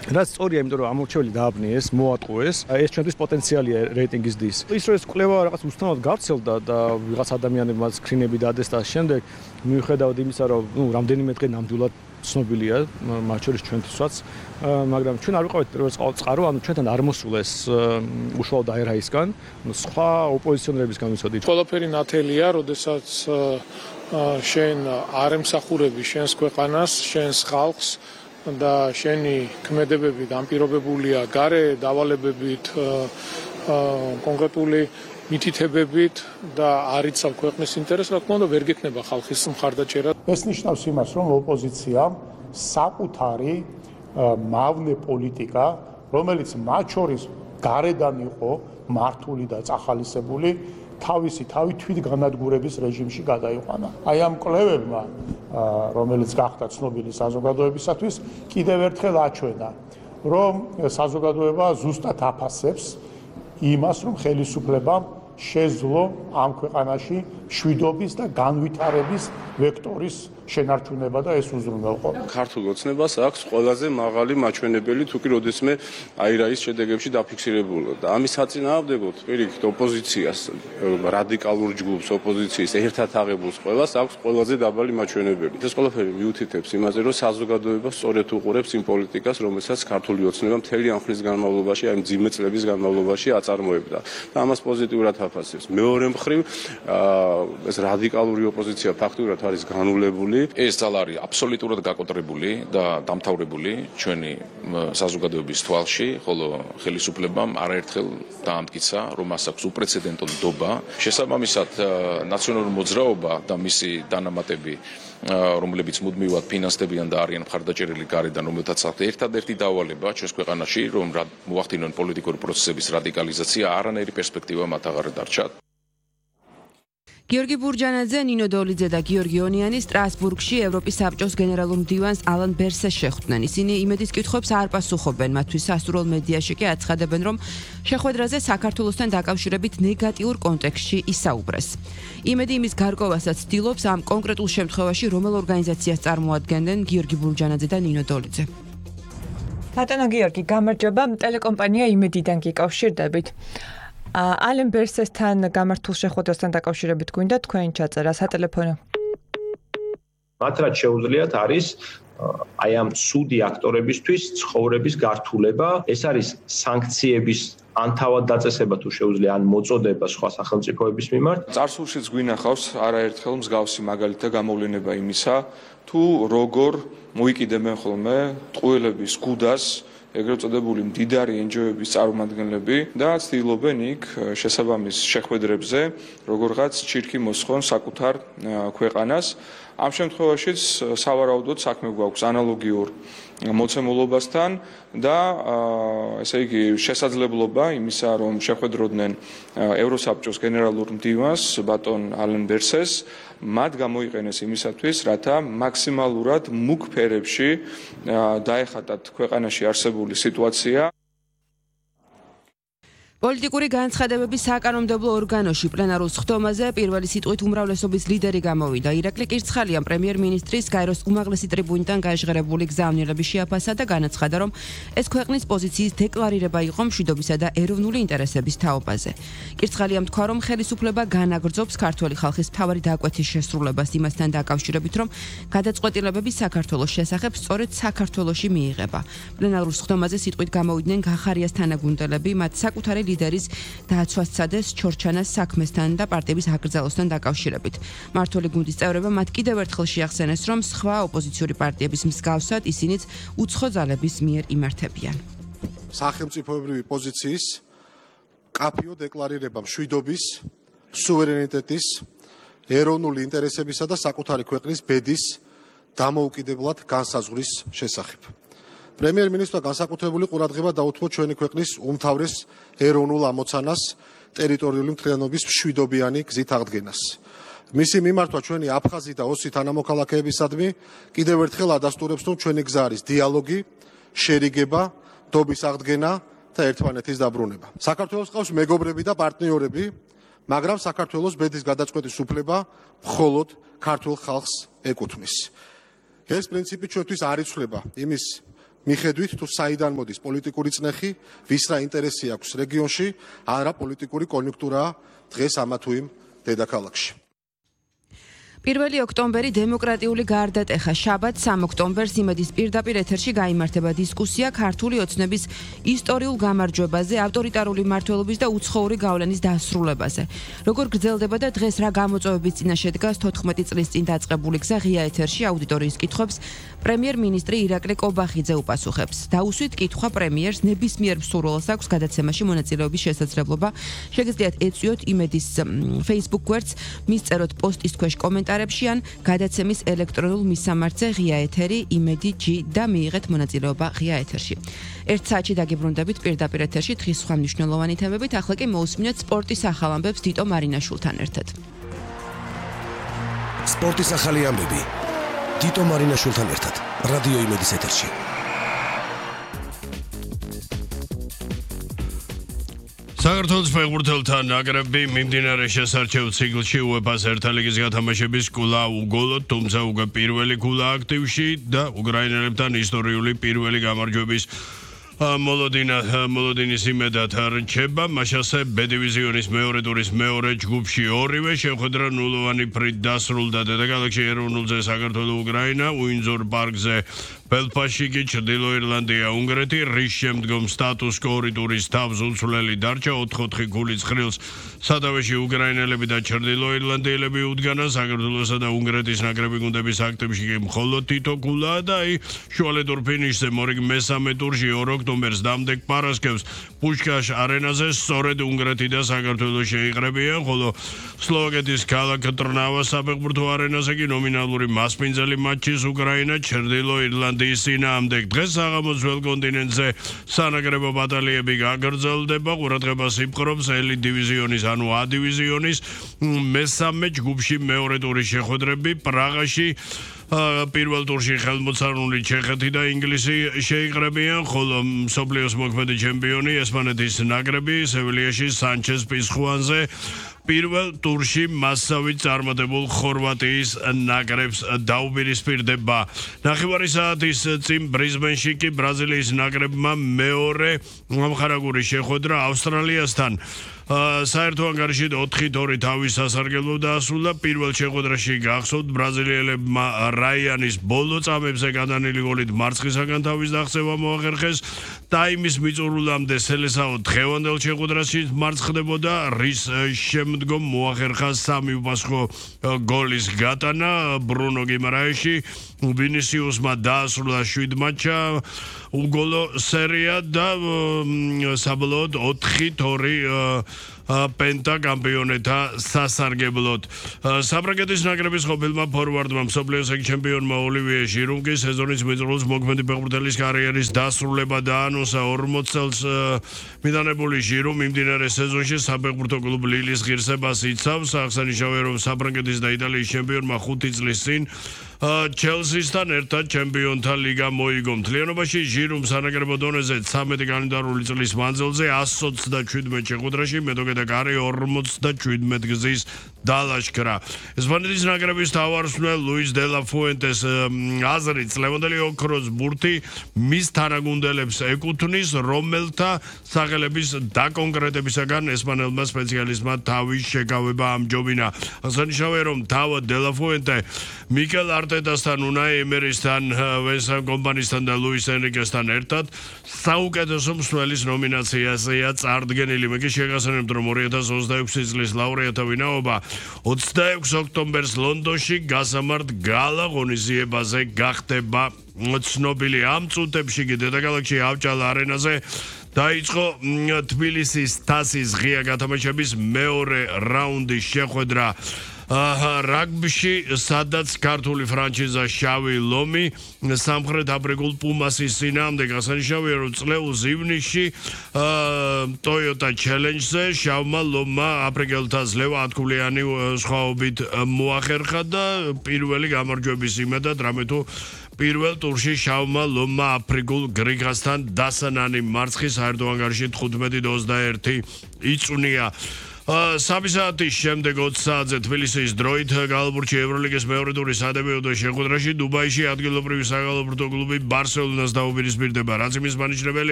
რაც სწორია, იმიტომ რომ ამორჩეველი დააბნიეს, მოატყუეს, ეს ჩვენთვის პოტენციალია რეიტინგის დის. ის რომ ეს კვლევა რაღაც უცნაურად გავრცელდა და ვიღაც ადამიანებმა სკრინები დადეს და შემდეგ მიუხედავად იმისა, რომ რამდენიმე დღე ნამდვილად ცნობილია, მათ შორის ჩვენთვისაც, მაგრამ ჩვენ არ ვიყავით პირველ წყარო, ანუ ჩვენთან არ მოსულეს უშუალოდ აერაისგან, სხვა ოპოზიციონერებისგან ვიცოდით. ყველაფერი ნათელია, როდესაც შენ არ ემსახურები შენს ქვეყანას, შენს ხალხს და შენი ქმედებები განპირობებულია გარე დავალებებით, კონკრეტული მითითებებით და არ იცავ ქვეყნის ინტერესს, რა თქმა უნდა, ვერ გექნება ხალხის მხარდაჭერა. ეს ნიშნავს იმას, რომ ოპოზიციამ საკუთარი მავნე პოლიტიკა, რომელიც მათ შორის გარედან იყო მართული და წახალისებული, თავისი თავი თვითგანადგურების რეჟიმში გადაიყვანა. აი ამ კვლევებმა, რომელიც გახდა ცნობილი საზოგადოებისათვის, კიდევ ერთხელ აჩვენა, რომ საზოგადოება ზუსტად აფასებს იმას, რომ ხელისუფლებამ შეძლო ამ ქვეყანაში მშვიდობის და განვითარების ვექტორის შენარჩუნება და ეს უზრუნველყო. ქართულ ოცნებას აქვს ყველაზე მაღალი მაჩვენებელი, თუ კი როდესმე აირაის შედეგებში დაფიქსირებულა და ამის საწინააღმდეგოდ პირიქით ოპოზიციას, რადიკალურ ჯგუფს, ოპოზიციის ერთად აღებულს ყველას აქვს ყველაზე დაბალი მაჩვენებელი. ეს ყველაფერი მიუთითებს იმაზე, რომ საზოგადოება სწორედ უყურებს იმ პოლიტიკას, რომელსაც ქართული ოცნება მთელი ამ ხნის განმავლობაში, აი მძიმე წლების განმავლობაში აწარმოებდა და ამას პოზიტიურად აფასებს. მეორე მხრივ, ეს რადიკალური ოპოზიცია ფაქტურად არის განულებული. ეს ძალა არის აბსოლუტურად გაკოტრებული და დამთავრებული ჩვენი საზოგადოების თვალში, ხოლო ხელისუფლებამ არაერთხელ დაამტკიცა, რომ მას აქვს უპრეცედენტო ნდობა. შესაბამისად, ნაციონალური მოძრაობა და მისი დანამატები, რომლებიც მუდმივად ფინანსდებიან და არიან მხარდაჭერილი გარედან, რომელთაც აქვს ერთადერთი დავალება ჩვენს ქვეყანაში, რომ მოახდინონ პოლიტიკური პროცესების რადიკალიზაცია, არანაირი პერსპექტივა მათ აღარ დარჩათ. გიორგი ბურჯანაძე, ნინო დოლიძე და გიორგი ონიანი სტრასბურგში ევროპის საბჭოს გენერალურ მდივანს ალან ბერსეს შეხვდნენ. ისინი იმედის კითხვებს არ პასუხობენ, მათთვის სასურველ მედიაში კი აცხადებენ, რომ შეხვედრაზე საქართველოსთან დაკავშირებით ნეგატიურ კონტექსტში ისაუბრეს. იმედი იმის გარკვევასაც ცდილობს ამ კონკრეტულ შემთხვევაში რომელ ორგანიზაციას წარმოადგენდნენ გიორგი ბურჯანაძე და ნინო დოლიძე. ბატონო გიორგი, გამარჯობა, ტელეკომპანია იმედიდან გიკავშირდებით. ალენ ბერსესთან გამართულ შეხვედრასთან დაკავშირებით გვინდა თქვენი ჩაწერა სატელეფონო. მათ რაც შეუძლიათ არის აი ამ სუდი აქტორებისთვის ცხოვრების გართულება, ეს არის სანქციების ან თავად დაწესება თუ შეუძლია ან მოწოდება სხვა სახელმწიფოების მიმართ. წარსულშიც გვინახავს არაერთხელ მსგავსი მაგალითი და გამოვლენება იმისა, თუ როგორ მოიკიდებენ ხოლმე ტყუილების გუდას ეგრეთ წოდებული მდიდარი NGO-ების წარმომადგენლები და ცდილობენ იქ შესაბამის შეხვედრებზე როგორღაც ჩირქი მოსხონ საკუთარ ქვეყანას. ამ შემთხვევაშიც სავარაუდოდ საქმე გვაქვს ანალოგიურ მოცემულობასთან და ესე იგი შესაძლებლობა იმისა, რომ შეხვედროდნენ ევროსაბჭოს გენერალურ მდივანს ბატონ ალენ ბერსეს, მათ გამოიყენეს იმისათვის, რათა მაქსიმალურად მუქ ფერებში დაეხატათ ქვეყანაში არსებული სიტუაცია. პოლიტიკური განცხადებების საკანონმდებლო ორგანოში პლენარულ სხდომაზე პირველი სიტყვით უმრავლესობის ლიდერი გამოვიდა. ირაკლი კირცხალიამ პრემიერ-მინისტრის გაეროს უმაღლესი ტრიბუნიდან გაჟღერებული გზავნილები შეაფასა და განაცხადა, რომ ეს ქვეყნის პოზიციის დეკლარირება იყო მშვიდობისა და ეროვნული ინტერესების თაობაზე. კირცხალიამ თქვა, რომ ხელისუფლება განაგრძობს ქართველი ხალხის მთავარი დაკვეთის შესრულებას იმასთან დაკავშირებით, რომ გადაწყვეტილებები საქართველოს შესახებ სწორედ საქართველოში მიიღება. პლენარულ სხდომაზე სიტყვით გამოვიდნენ გახარიას თანაგუნდელები, მათ საკუთარი ლიდერის დააცვასცადეს ჩორჩანას საქმესთან და პარტიების აკრძალვასთან დაკავშირებით. მმართველი გუნდის წევრებმა მათ კიდევ ერთხელ შეახსენეს, რომ სხვა ოპოზიციური პარტიების მსგავსად ისინიც უცხო ძალების მიერ იმართებიან. სახელმწიფოებრივი პოზიციის კაფიო დეკლარირება მშვიდობის, სუვერენიტეტის, ეროვნული ინტერესებისა და საკუთარი ქვეყნის ბედის დამოუკიდებლად განსაზღვრის შესახებ. პრემიერ-მინისტრმა განსაკუთრებული ყურადღება დაუთმო ჩვენი ქვეყნის უმთავრეს ეროვნულ ამოცანას ტერიტორიული მთლიანობის მშვიდობიანი გზით აღდგენას. მისი მიმართვა ჩვენი აფხაზი და ოსი თანამოქალაქეებისადმი კიდევ ერთხელ ადასტურებს, რომ ჩვენი გზა არის დიალოგი, შერიგება, დობის აღდგენა და ერთმანეთის დაბრუნება. საქართველოს ყავს მეგობრები და პარტნიორები, მაგრამ საქართველოს ბედის გადაწყვეტის უფლება მხოლოდ ქართულ ხალხს ეკუთვნის. ეს პრინციპი ჩვენთვის არ იცვლება იმის მიხედვით თუ საიდან მოდის პოლიტიკური წნეხი, ვის რა ინტერესი აქვს რეგიონში, არა პოლიტიკური კონიუნქტურაა დღეს ამა თუ იმ დედაქალაქში. 1 ოქტომბერი დემოკრატიული გარდატეხა. შაბათ 3 ოქტომბერს იმედის პირდაპირ ეთერში გაიმართება დისკუსია ქართული ოცნების ისტორიულ გამარჯვებაზე, ავტორიტარული მმართველობის და უცხოური გავლენის დასრულებაზე. როგორ გრძელდება და დღეს რა გამოწვევების წინაშე დგას 14 წლის წინ დაწყებული გზა ღია ეთერში აუდიტორიის კითხვებს პრემიერ-მინისტრი ირაკლი კობახიძე უპასუხებს. დაუსვით კითხვა პრემიერს ნებისმიერ მსურველს აქვს გადაცემაში მონაწილეობის შესაძლებლობა. შეგიძლიათ ეწვიოთ იმედის Facebook გვერდს, მისწეროთ პოსტის ქვეშ კომენტარებში ან გადაცემის ელექტრონულ მისამართზე ღია ეთერი იმედი G და მიიღეთ მონაწილეობა ღია ეთერში. 1 საათში დაგიბრუნდებით პირდაპირ ეთერში დღის სხვა მნიშვნელოვანი თემებით. ახლა კი მოусმინოთ სპორტის ახალ ამბებს თიტო მარინაშვილთან ერთად. სპორტის ახალი ამბები თიტო მარინაშვილთან ერთად რადიო იმედის ეთერში. საქართველოს ფეხბურთელთა ნაკრები მიმდინარე შესარჩევ ციკლში UEFA-ს ერთა ლიგის გათამაშების კვლავ უგოლოდ, თუმცა უკვე პირველი ქულა აქტივში და უკრაინელებთან ისტორიული პირველი გამარჯვების მოლოდინის იმედად რჩება. მაშასე B დივიზიონის მეორე ტურის მეორე ჯგუფში ორივე შეხვედრა ნულოვანი ფრით დასრულდა. დედაქალაქში ეროვნულზე საქართველო უკრაინა, უინძორ პარკზე ბელფასში კი ჩრდილო ირლანდია უნგრეთი, რის შემდგომ სტატუს კო ორი ტურის თავს უცვლელი დარჩა 4-4 ქულის ხრილს სათავეში უკრაინელები და ჩრდილო ირლანდიელები უდგანა. საქართველოსა და უნგრეთის ნაკრები გუნდების აქტივში კი მხოლოდ თითო ქულაა და შუალედურ ფინიშზე მორიგ მესამე ტურში 2 ოქტომბერს დამდეგ პარასკევს პუშკაშ არენაზე სწორედ უნგრეთი და საქართველო შეიყრებიან, ხოლო სლოვაკეთის ქალაქ ტრნავას საფეხბურთო არენაზე კი ნომინალური მასპინძელი მატჩის უკრაინა ჩრდილო ირლანდიის წინააღმდეგ. დღეს საღამოს ველს კონტინენტზე სანაკრებო ბატალიები გაგრძელდება. ყურადღებას იპყრობს ელიტ დივიზიონის ანუ A დივიზიონის მესამე ჯგუფში მეორე ტურის შეხვედრები პრაღაში. პირველ ტურში ხელმოწარული ჩეხეთი და ინგლისი შეიყრებიან, ხოლო მსოფლიოს მოქმედი ჩემპიონი ესპანეთის ნაკრები სევილიაში სანჩეს პიზხუანზე პირველ ტურში მასავით წარმატებულ ხორვატიის ნაკრებს დაუპირისპირდება. ნახევარი საათის წინ ბრიზბენში კი ბრაზილიის ნაკრებმა მეორე მომხარაგური შეხვედრა ავსტრალიასთან საერთო ანგარიში 4-2 თავის სასარგებლო დაასრულა. პირველ შეხვედრაში გახსოვთ ბრაზილიელებმა რაიანის ბოლო წამებზე გადანილი გოლით მარცხისაგან თავის დაღწევა მოახერხეს. ტაიმის მიწურულამდე სელესაო დღევანდელ შეხვედრაში მარცხდებოდა, რის შემდგომ მოახერხა 3 უპასუხო გოლის გატანა. ბრუნო გიმარაეში ვინისიუსმა დაასრულა 7 მატჩა უგოლო სერია და საბოლოოდ 4-2 პენტა კამპიონეთა სასარგებლოდ. საბრაგეთის ნაკრების ყოფილმა ფორვარდმა მსოფლიოს ჩემპიონმა ოლივიე ჟირუმ კი სეზონის მიწურულს მოქმედი ფეხბურთელის კარიერის დასრულება დაანონსა. 40 წელს მიდანებული ჟირუმ მიმდინარე სეზონში საფეხბურთო კლუბ ლილის ღირსებას იცავს. აღსანიშნავია, რომ საბრაგეთის და იტალიის ჩემპიონმა 5 წლის წინ ჩელსისთან ერთად ჩემპიონთა ლიგა მოიგო. მთლიანობაში ჟირუმ სანაკრებო დონეზე 13 კალენდარული წლის მანძილზე 127 შეხვედრაში მეტოქე და კარი 47 გზის დალაშქრა. ესპანეთის ნაკრების თავარსმნელ ლუის დე ლა ფუენტეს აზრით ლევანდელი ოქროს ბურთი მის თანაგუნდელებს ეკუთვნის, რომელთა სახელების დაკონკრეტებისაგან ესპანელმა სპეციალისტმა თავის შეკავება ამჯობინა. აღსანიშნავია, რომ თავად დე ლა ფუენტე მიკელ არტეტასთან, უნაი ემერისთან, ვენსან კომპანისთან და ლუის ენრიკესთან ერთად საუკეთესო მსვლელის ნომინაციაზეა წარდგენილი. მე კი შეგახსენებთ, რომ 2026 წლის ლაურეატთა ვინაობა 26 ოქტომბერს ლონდონში გასამართ გალა ღონისძიებაზე გახდება ცნობილი. ამ წუთებში კი დედაქალაქში ავჭალა არენაზე დაიწყო თბილისის თასის ღია გათამაშების მეორე რაუნდის შეხვედრა. რაგბიში, სადაც ქართული ფრანჩიზა შავი ლომი სამხრეთ აფრიკულ პუმასის წინააღმდეგ. აღსანიშნავია, რომ წლეულის ივნისში Toyota Challenge-ზე შავმა ლომმა აფრიკელთა ძლევა 10-ქულიანი სხვაობით მოახერხა და პირველი გამარჯვების იმედად, რამე თუ პირველ ტურში შავმა ლომმა აფრიკულ გრიგასთან დასანანი მარცხი საერთო ანგარიში 15-21 იწვნია. 3 საათის შემდეგ 20 საათზე თბილისის დროით გალბურჩი ევროლიგის მეორე ტურის სადებიუტო შეხვედრაში დუბაიში ადგილობრივი საგალობურთო კლუბი ბარსელონას დაუპირისპირდება. რაც იმის მანიშნებელი